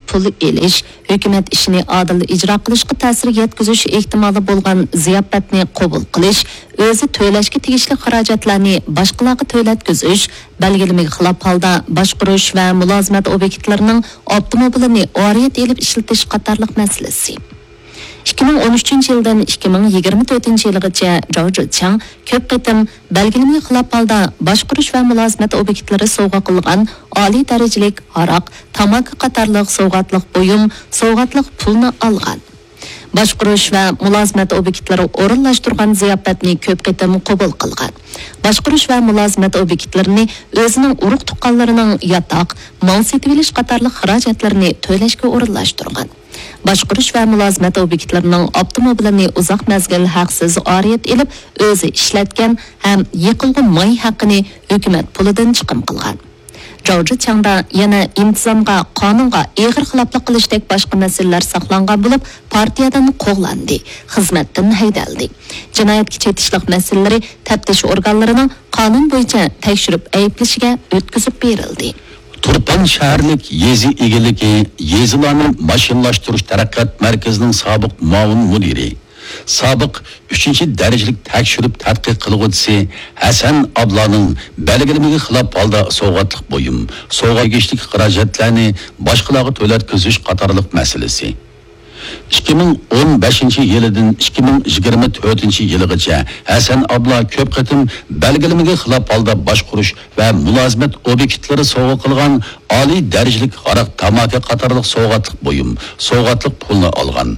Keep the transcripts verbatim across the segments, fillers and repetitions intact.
پۇل ئېلىش، ھۆكۈمەت ئىشىنى ئادىل ئىجرا قىلىشقا تەسىر يەتكۈزۈش ئېھتىمالى بولغان زىياپەتنى قوبۇل قىلىش، ئۆزى تۆلەشكە تېگىشلىك خىراجەتلەرنى باشقىلارغا تۆلەتكۈزۈش، بەلگىلىمىگە خىلاپ ھالدا باشقۇرۇش ۋە مۇلازىمەت ئوبيېكتلىرىنىڭ ئاپتوموبىلىنى ئارىيەت ئېلىپ ئىشلىتىش قاتارلىق مەسىلىسى. ئىككى مىڭ ئون ئۈچىنچى يىلدىن ئىككى مىڭ يىگىرمە تۆتىنچى يىلغىچە جاۋ جىچياڭ كۆپ قېتىم بەلگىلىمىگە خىلاپ ھالدا باشقۇرۇش ۋە مۇلازىمەت ئوبيېكتلىرى سوۋغا قىلغان ئالىي دەرىجىلىك ھاراق، تاماكا قاتارلىق سوۋغاتلىق بۇيۇم، سوۋغاتلىق پۇلنى ئالغان. باشقۇرۇش ۋە مۇلازىمەت ئوبيېكتلىرى ئورۇنلاشتۇرغان زىياپەتنى كۆپ قېتىم قوبۇل قىلغان. باشقۇرۇش ۋە مۇلازىمەت ئوبيېكتلىرىنى ئۆزىنىڭ ئۇرۇق-تۇغقانلىرىنىڭ ياتاق، مال سېتىۋېلىش قاتارلىق خىراجەتلىرىنى تۆلەشكە ئورۇنلاشتۇرغان. باشقۇرۇش ۋە مۇلازىمەت ئوبيېكتلىرىنىڭ ئاپتوموبىلىنى ئۇزاق مەزگىل ھەقسىز ئارىيەت ئېلىپ، ئۆزى ئىشلەتكەن ھەم يېقىلغۇ ماي ھەققىنى ھۆكۈمەت پۇلىدىن چىقىم قىلغان. جاۋ جىچياڭدا يەنە ئىنتىزامغا، قانۇنغا ئېغىر خىلاپلىق قىلىشتەك باشقا مەسىلىلەر ساقلانغان بولۇپ، پارتىيەدىن قوغلاندى، خىزمەتتىن ھەيدەلدى. جىنايەتكە چېتىشلىق مەسىلىلىرى تەپتىش ئورگانلىرىنىڭ قانۇن بويىچە تەكشۈرۈپ ئەيىبلىشىگە ئۆتكۈزۈپ بېرىلدى. تۇرپان شەھەرلىك يېزا ئىگىلىكى، يېزىلارنى ماشىنىلاشتۇرۇش تەرەققىيات مەركىزىنىڭ سابىق مۇئاۋىن مۇدىرى، سابىق ئۈچىنچى دەرىجىلىك تەكشۈرۈپ تەتقىق قىلغۇچىسى ھەسەن ئابلانىڭ بەلگىلىمىگە خىلاپ ھالدا سوۋغاتلىق بۇيۇم، سوۋغا تېگىشلىك خىراجەتلەرنى باشقىلارغا تۆلەتكۈزۈش قاتارلىق مەسىلىسى. ئىككى مىڭ ئون بەشىنچى يىلىدىن ئىككى مىڭ يىگىرمە تۆتىنچى يىلىغىچە ھەسەن ئابلا كۆپ قېتىم بەلگىلىمىگە خىلاپ ھالدا باشقۇرۇش ۋە مۇلازىمەت ئوبيېكتلىرى سوۋغا قىلغان ئالىي دەرىجىلىك ھاراق، تاماكا قاتارلىق سوۋغاتلىق بۇيۇم، سوۋغاتلىق پۇلنى ئالغان.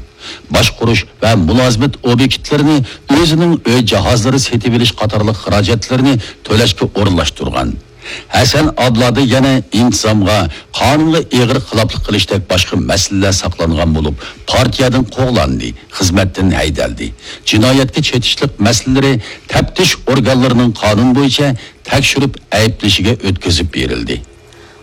باشقۇرۇش ۋە مۇلازىمەت ئوبيېكتلىرىنى ئۆزىنىڭ ئۆي جاھازلىرى سېتىۋېلىش قاتارلىق خىراجەتلىرىنى تۆلەشكە ئورۇنلاشتۇرغان. ھەسەن ئابلادا يەنە ئىنتىزامغا، قانۇنغا ئېغىر خىلاپلىق قىلىشتەك باشقا مەسىلىلەر ساقلانغان بولۇپ، پارتىيەدىن قوغلاندى، خىزمەتتىن ھەيدەلدى. جىنايەتكە چېتىشلىق مەسىلىلىرى تەپتىش ئورگانلىرىنىڭ قانۇن بويىچە تەكشۈرۈپ ئەيىبلىشىگە ئۆتكۈزۈپ بېرىلدى.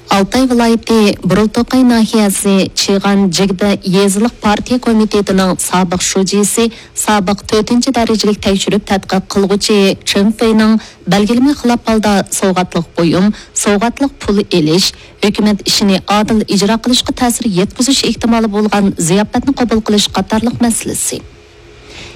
ئالتاي ۋىلايىتى بۇرۇلتوقاي ناھىيەسى چىغان جىگدە يېزىلىق پارتىيە كومىتېتىنىڭ سابىق شۇجىسى، سابىق تۆتىنچى دەرىجىلىك تەكشۈرۈپ تەتقىق قىلغۇچى چېن فېينىڭ بەلگىلىمە خىلاپ ھالدا سوۋغاتلىق بۇيۇم، سوۋغاتلىق پۇل ئېلىش، ھۆكۈمەت ئىشىنى ئادىل ئىجرا قىلىشقا تەسىر يەتكۈزۈش ئېھتىمالى بولغان زىياپەتنى قوبۇل قىلىش قاتارلىق مەسىلىسى.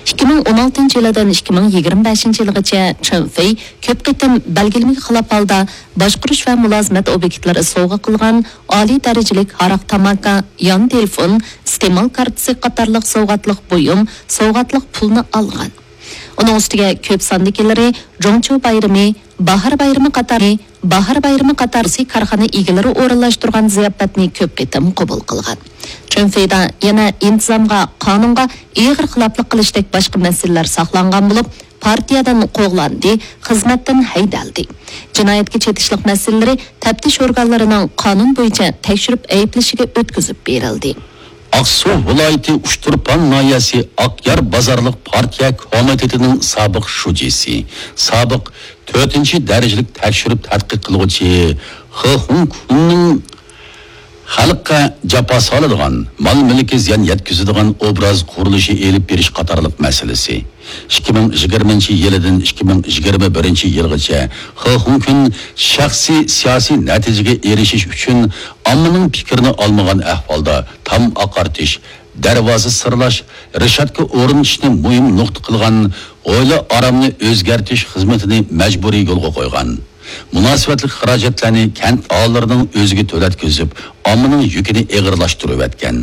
ئىككى مىڭ ئون ئالتىنچى يىلىدىن ئىككى مىڭ يىگىرمە بەشىنچى يىلغىچە چېن فېي كۆپ قېتىم بەلگىلىمىگە خىلاپ ھالدا باشقۇرۇش ۋە مۇلازىمەت ئوبيېكتلىرى سوۋغا قىلغان ئالىي دەرىجىلىك ھاراق، تاماكا، يان تېلېفون، ئىستېمال كارتىسى قاتارلىق سوۋغاتلىق بۇيۇم، سوۋغاتلىق پۇلنى ئالغان. ئۇنىڭ ئۈستىگە كۆپ ساندىكىلىرى جۇڭچۇ بايرىمى، باھار بايرىمى قاتارى، باھار بايرىمى قاتارى كارخانا ئىگىلىرى ئورۇنلاشتۇرغان زىياپەتنى كۆپ قېتىم قوبۇل قىلغان. چېن فېيدا يەنە ئىنتىزامغا، قانۇنغا ئېغىر خىلاپلىق قىلىشتەك باشقا مەسىلىلەر ساقلانغان بولۇپ، پارتىيەدىن قوغلاندى، خىزمەتتىن ھەيدەلدى. جىنايەتكە چېتىشلىق مەسىلىلىرى تەپتىش ئورگانلىرىنىڭ قانۇن بويىچە تەكشۈرۈپ ئەيىبلىشىگە ئۆتكۈزۈپ بېرىلدى. ئاقسۇ ۋىلايىتى ئۇچتۇرپان ناھىيەسى ئاقيار بازارلىق پارتىيە كومىتېتىنىڭ سابىق شۇجىسى، سابىق تۆتىنچى دەرىجىلىك تەكشۈرۈپ تەتقىق قىلغۇچى خې خۇڭكۈننىڭ خەلققە جاپا سالىدىغان، مال-مۈلكىگە زىيان يەتكۈزىدىغان ئوبراز قۇرۇلۇشى ئېلىپ بېرىش قاتارلىق مەسىلىسى. ئىككى مىڭ يىگىرمىنچى يىلىدىن ئىككى مىڭ يىگىرمە بىرىنچى يىلغىچە خې خۇڭكۈن شەخسىي سىياسىي نەتىجىگە ئېرىشىش ئۈچۈن ئاممىنىڭ پىكرىنى ئالمىغان ئەھۋالدا تام ئاقارتىش، دەرۋازا سىرلاش، رېشاتكا ئورنىتىشنى مۇھىم نۇقتا قىلغان ھويلا ئارامنى ئۆزگەرتىش خىزمىتىنى مەجبۇرىي يولغا قويغان. مۇناسىۋەتلىك خىراجەتلەرنى كەنت ئاھالىلىرىنىڭ ئۆزىگە تۆلەتكۈزۈپ، ئاممىنىڭ يۈكىنى ئېغىرلاشتۇرۇۋەتكەن.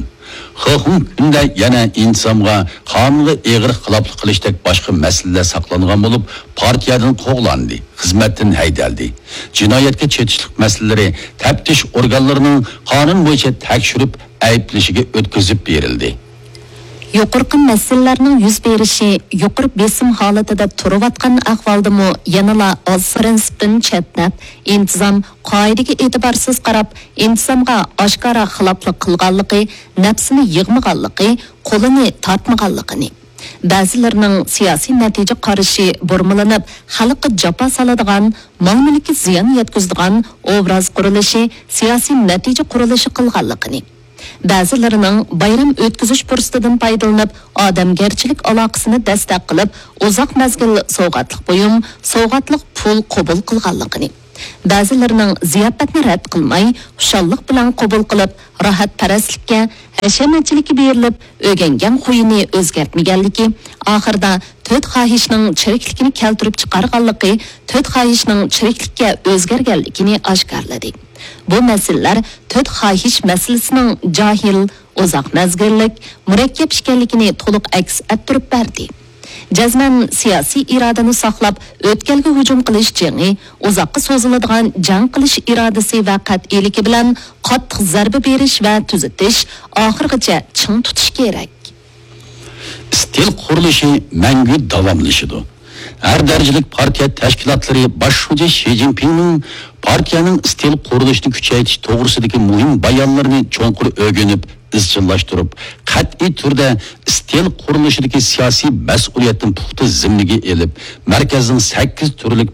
خې خۇڭكۈندە يەنە ئىنتىزامغا، قانۇنغا ئېغىر خىلاپلىق قىلىشتەك باشقا مەسىلىلەر ساقلانغان بولۇپ، پارتىيەدىن قوغلاندى، خىزمەتتىن ھەيدەلدى. جىنايەتكە چېتىشلىق مەسىلىلىرى تەپتىش ئورگانلىرىنىڭ قانۇن بويىچە تەكشۈرۈپ ئەيىبلىشىگە ئۆتكۈزۈپ بېرىلدى. يۇقىرىقى مەسىلىلەرنىڭ يۈز بېرىشى يۇقىرى بېسىم ھالىتىدە تۇرۇۋاتقان ئەھۋالدىمۇ يەنىلا ئاز پىرىنسىپتىن چەتنەپ، ئىنتىزام قائىدىگە ئېتىبارسىز قاراپ، ئىنتىزامغا ئاشكارا خىلاپلىق قىلغانلىقى، نەپسىنى يىغمىغانلىقى، قولىنى تارتمىغانلىقىنى، بەزىلىرىنىڭ سىياسىي نەتىجە قارىشى بۇرمىلىنىپ، خەلققە جاپا سالىدىغان، مال-مۈلككە زىيان يەتكۈزىدىغان ئوبراز قۇرۇلۇشى، سىياسىي نەتىجە قۇرۇلۇشى قىلغانلىقىنى، بەزىلىرىنىڭ بايرام ئۆتكۈزۈش پۇرسىتىدىن پايدىلىنىپ، ئادەمگەرچىلىك ئالاقىسىنى دەستەك قىلىپ، ئۇزاق مەزگىل سوۋغاتلىق بۇيۇم، سوۋغاتلىق پۇل قوبۇل قىلغانلىقىنى، بەزىلىرىنىڭ زىياپەتنى رەت قىلماي، خۇشاللىق بىلەن قوبۇل قىلىپ، راھەتپەرەسلىككە، ھەشەمەتچىلىككە بېرىلىپ، ئۆگەنگەن خۇيىنى ئۆزگەرتمىگەنلىكى، ئاخىرىدا تۆت خاھىشنىڭ چىرىكلىكىنى كەلتۈرۈپ چىقارغانلىقى، تۆت خاھىشنىڭ چىرىكلىككە ئۆزگەرگەنلىكىنى ئاشكارىلىدى. بۇ مەسىلىلەر تۆت خاھىش مەسىلىسىنىڭ جاھىل، ئۇزاق مەزگىللىك، مۇرەككەپ ئىكەنلىكىنى تولۇق ئەكس ئەتتۈرۈپ بەردى. جەزمەن سىياسىي ئىرادىنى ساقلاپ، ئۆتكەلگە ھۇجۇم قىلىش جېڭى، ئۇزاققا سوزۇلىدىغان جەڭ قىلىش ئىرادىسى ۋە قەتئىيلىكى بىلەن قاتتىق زەربە بېرىش ۋە تۈزىتىش، ئاخىرغىچە چىڭ تۇتۇش كېرەك. ئىستىل قۇرۇلۇشى مەڭگۈ داۋاملىشىدۇ. ھەر دەرىجىلىك پارتىيە تەشكىلاتلىرى باش شۇجى شى جىنپىڭنىڭ پارتىيەنىڭ ئىستىل قۇرۇلۇشىنى كۈچەيتىش توغرىسىدىكى مۇھىم بايانلىرىنى چوڭقۇر ئۆگىنىپ، ئىزچىللاشتۇرۇپ، قەتئىي تۈردە ئىستىل قۇرۇلۇشىدىكى سىياسىي مەسئۇلىيەتنى پۇختا زىممىگە ئېلىپ، مەركەزنىڭ سەككىز تۈرلۈك